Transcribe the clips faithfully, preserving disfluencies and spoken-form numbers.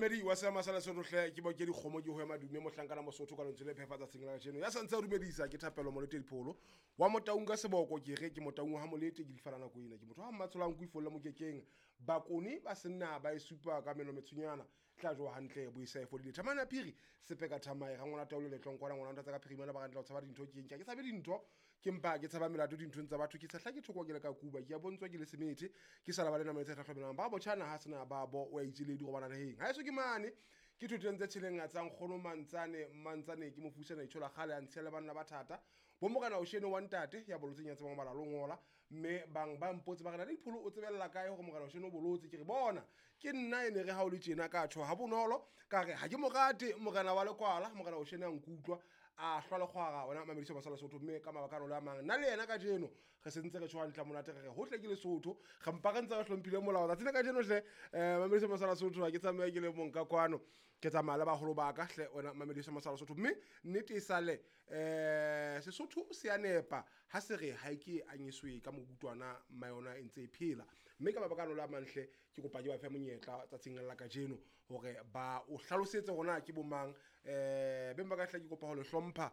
Momamedi wa seama sa Lesotho hle, ke bo ke dikgomo ke ho ema dume mohlankana Mosotho ka lentswe le phefa tsatsing la kajeno. Ya santse a dumedisa ke Thapelo Molete Dipholo wa Motaung ka seboko, ke re ke Motaung wa ha Molete, ke difala nako ena. Ke motho wa mmatsholang kuifolle mokekeng. Bakone ba senna ba e supa ka meno metshonyana. Tla jowa hantle bo isa e fodile. Thamane ya phiri sepe ka thamae ga ngwana taolo letlong kwana ngwana ntatsa ka phirimana ba rantla ho tshaba dintho ke eng. Ke tshabe dintho ke mpa ke tshaba melato dinthong tsa batho, ke tshehla ke thoko ke le ka kuba ke a bontswa ke le semethe ke sa lebale nama e tse hlahlobelang ba botjhana ha sena ba bo o a itseledi go bana naheng. Ha eso ke mane ke thoteng tse tjheleng tsa nkgono Mantsane Mantsane ke mofusana itshola kgale a ntshiya le banna ba thata. Bo morena o shene wa ntate ya bolotseng ya tsebang ho bala le ho ngola, mme bang ba mpotse ba re na le Dipholo o tsebella kae hore morena o shene o bolotse. Ke re bona ke nna e ne re ha o le tjena ka tjho ha bonolo ka re ha ke mo rate morena wa lekwala, morena o shene a nkutlwa a hlwa lekgwara ona mamediso masala Sotho. Mme ka mabaka ano le a mang nna le yena kajeno re sentse re tjho hantle monate re re hohle ke Lesotho, re mpa re ntse re hlomphile molao tsatsi la kajeno hle. Eh mamediso masala Sotho ha ke tsamaye ke le mong ka kwano, ke tsamaya le baholo ba ka hle ona mamediso masala Sotho. Mme nnete e sale eh Sesotho se a nepa ha se re ha ke anyiswe ka mokutwana mma yona e ntse e phela. Mme ka mabaka ano le a mang hle ke kopa ke ba fe monyetla tsatsing la kajeno hore ba o hlalosetse hore na ke bo mang. Eh beng ba ka hle ke kopa ho le hlompha,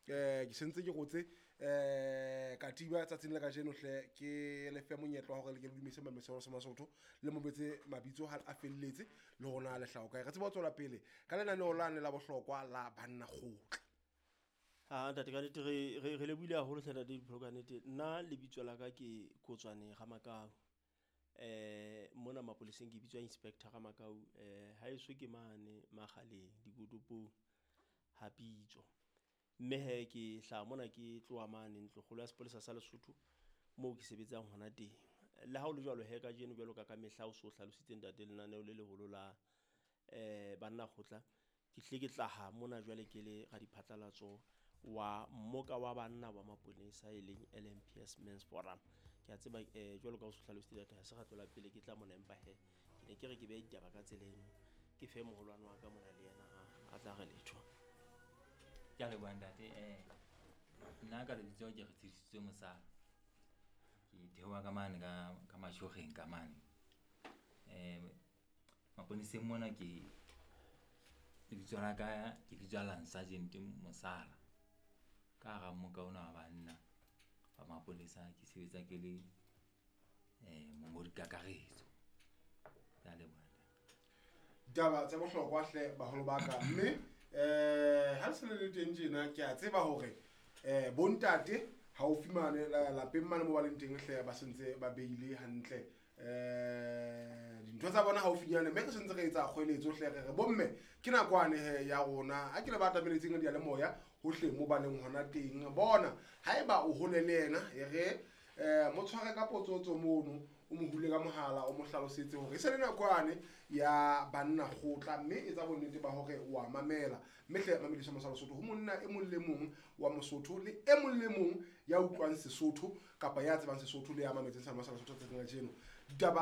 eh ke sentse ke rotse eh katiba tsatsing la kajeno hle ke le fe monyetla wa hore le ke le dumedise mameselo sa Masotho le mo betse mabitso ha a felletse le rona le hlaho kae. Re tsebe ho tswela pele ka lenaneo lane la bohlokwa la banna kgotla. Ha ntate ka nnete re re re lebohile haholo hle ntate Dipholo ka nnete. Nna lebitso la ka ke Kotswane Ramakau. Eh mona mapoleseng ke bitswa Inspector Ramakau. Eh haeso ke mane Makgaleng dikotopong ha Pitso. Mme he ke hlaha mona ke tloha mane ntlokgolo ya sepolesa sa Lesotho moo ke sebetsang hona teng. Le ha ho le jwalo he kajeno jwalo ka ka mehla o so hlalositse ntate lenaneo le leholo la eh banna kgotla, ke hlile ke tlaha mona jwale ke le radiphatlalatso wa mmoka wa banna wa maponesa e leng L M P S Men's Forum. Ke a tseba eh jwalo ka o so hlalositse ntate ha se ra tlola pele ke tla mona, empa he ke ne ke re ke behe ditaba ka tsela eno, ke fe moholwane wa ka mona le yena a tla re letho. Ke a leboha ntate. Eh nna ka lebitso ke re Tshedisitswe Mosala. Ke theoha ka mane ka, ka Mashogeng ka mane. Eh maponeseng mona ke lebitso la ka ke bitswa Lance Sergeant Mosala. Ka hara mmoka ona wa banna ba mapolesa ke sebetsa ke le eh mongodi kakaretso. Ke a leboha. Ditaba tsa bohlokwa hle baholo ba ka, mme eh ha le se le le teng tjena ke a tseba hore eh bontate haufi mane lapeng mane mo ba leng teng hle ba sentse ba beile hantle eh dintho tsa bona haufinyane, mme re sentse re etsa kgoeletso hle re re bomme ke nakwane he ya rona ha ke le ba atameletseng diyalemoya hohle mo ba leng hona teng. Bona haeba o hole le yena e re eh mo tshware ka potsotso mono, o mo hule ka mohala, o mo hlalosetse hore e se le nakwane ya banna kgotla, mme etsa bonnete ba hore o a mamela. Mme hle mamediso masala Sotho ho monna e mong le mong wa Mosotho le e mong le mong ya utlwang Sesotho kapa ya tsebang Sesotho le ya mametseng sa masala Sotho tsatsing la kajeno. Ditaba